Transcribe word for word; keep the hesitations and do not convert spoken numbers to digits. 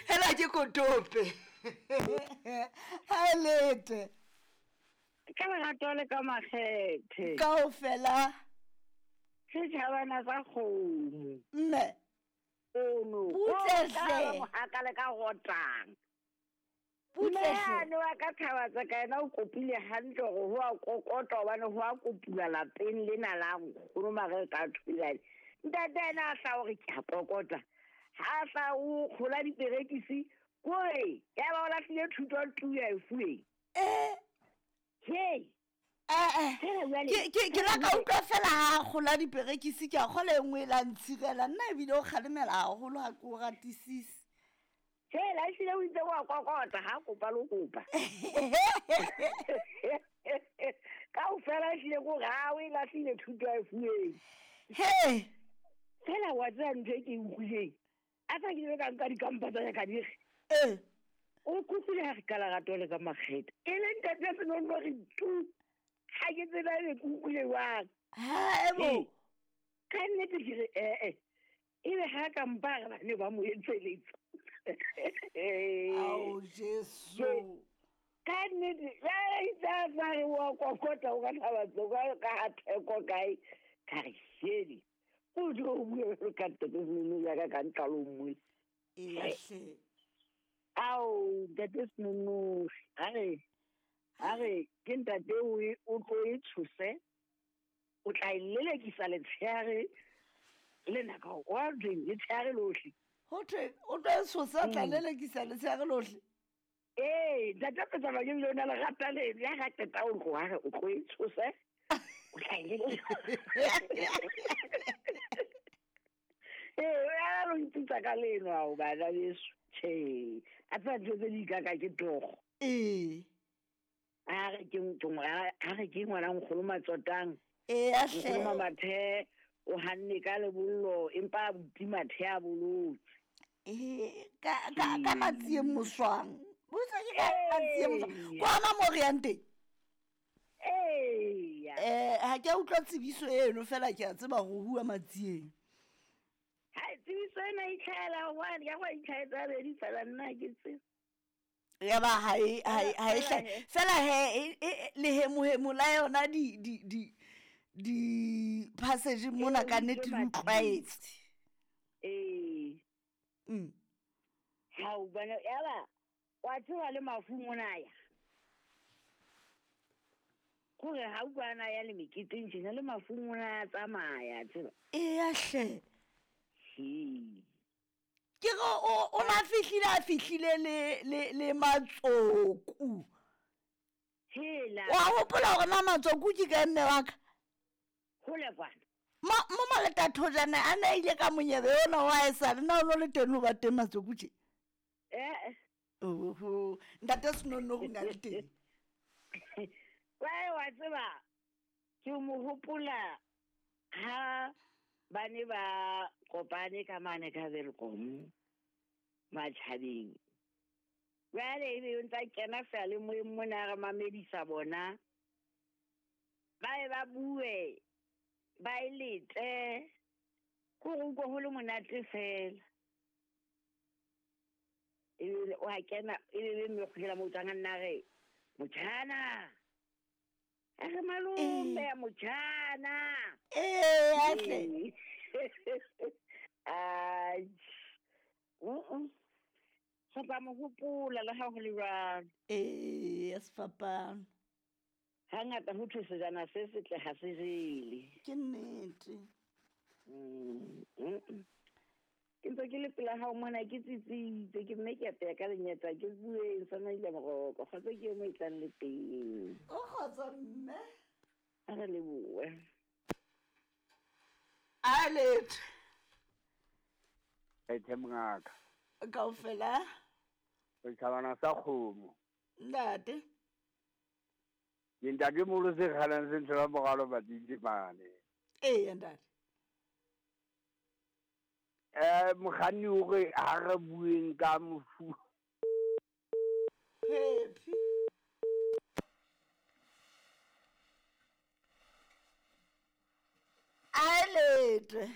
Hela ke kotope. Ha lete. Ka lerato le ka makgethe. Kaofela. Setjhabana sa kgomo. Mme. Ono. Butle hle. Mohaka le ka rotang. Butle hle. Mme wa ka thabatsa ka yena o kopile hantle hore ho a kokota hobane ho a kopula lapeng lena la nkgono mare ka thulane. Ntate ena a hla hore ke a kokota. Ha hla o kgola diperekisi kore ya ba o lahlile thuto tu ya e fuweng. Eh. Hey. Eh eh. Ke ke la ka utlwa fela ha kgola diperekisi ke a kgola e nngwe e la ntshirela nna ebile o kgalemela haholo ha ke o ratisise. Hela ehlile o itse wa kokota ha kopa lo kopa. Kaofela ehlile ko re ha o e lahlile thuto ya e fuweng. He. Fela wa tseba ntho e ke e utlwileng. A tsa ke ile ka nka dikampa tsa ka di re. Eh. O kopile ha re ka lerato le ka makgethe. E le ntate Senono re tu. Ha ke tseba e ke utlwile jwang. Ha ebo. Ka nnete ke re eh eh. Ebe ha ka mpa re ba ne ba mo etseletsa. Ao Jesu. Ka nnete ya itse sa re wa kokota o ka thabatso ka ka ha theko kae ka re shedi. O jo bua ka ntate Senono ya ka ka ntlalo mmoe. Ee hle. Ao ntate Senono a re a re ke ntate o o tlo e tshose o tla e lelekisa letshehare le nako wa drink letshehare lohle. Ho thwe o tlo e tshosa tla lelekisa letshehare lohle. Ee ntate Petsa ke bile o na le rata le ya ga qeta o tlo re o tlo e tshose o tla e lelekisa. Ee ya lo ntitsa ka leno ao bana beso. Tjhe a tsa ntho tse di ka ka ke togo. Ee. A re ke a re ke ngwana nkgono Matsotang. Ee a hle. Nkgono Mathe o hanne ka lebollo empa buti Mathe a bolotse. Ee ka ka ka Matsieng Moswang. Botsa ke ka Matsieng Moswang. Kwa ma mo re yang teng? Ee. Eh ha ke a utlwa tsebiso eno fela ke a tseba go hua Matsieng. Ha tsebiso ena e tlhaela hobane ya go itlhaetsa bedi fela nna ke tsebe. Ya ba ha e ha e ha e fela he le hemohemo la yona di di di di passage mona ka nnete di utlwaetse. Ee. Mm. Ha o bana ya ba wa tseba le mafu mona ya. Kore ha o bana ya le meketeng tjena le mafu mona ya tsamaya tseba. Ee ya hle. He. Ke go o o na fihlile a fihlile le le le Matsoku. Hela. Wa hopola hore na Matsoku ke ka mme wa ka? Hole kwana. Ma mo maleta thojana a na ile ka monyebe ona wa e sa le na o lo le teng o ba teng Matsoku tje. Eh. Oho, ntate Senono go na le teng. Wa wa tseba ke mo hopola ha ba ne ba kopane ka mane ka Welkom matjhabeng. Jwale ebe o ntsa kena fela le moyeng mona re mamedisa bona. Ba e ba bue ba e lete ko go utlwa ho le monate fela. Ebe o a kena ebe be mme kgela mo utlwang nna re motjhana. A re malome ya motjhana. Ee atle. Ai. Mm. Sa ba mo hopola le ha ho le jwalo. Ee, sefapano. Hangata ho thwe sejana se setle ha se jele. Ke nnete. Mm. Ke ntse ke le pela hao mona ke tsitsitse ke mme ke apeya ka lenyatsa ke bueng sa maile moroko kgotsa ke mo e tlang le teng. O kgotsa mme. A re lebohe. A letho. Ethe mongaka. Kaofela. Setjhabana sa kgomo. Ntate. Ke ntate molo se kgalang se ntho la moralo badintsi mane. Ee ntate. Eh mokganni o re ha re bueng ka mofu. Phephi. A letho.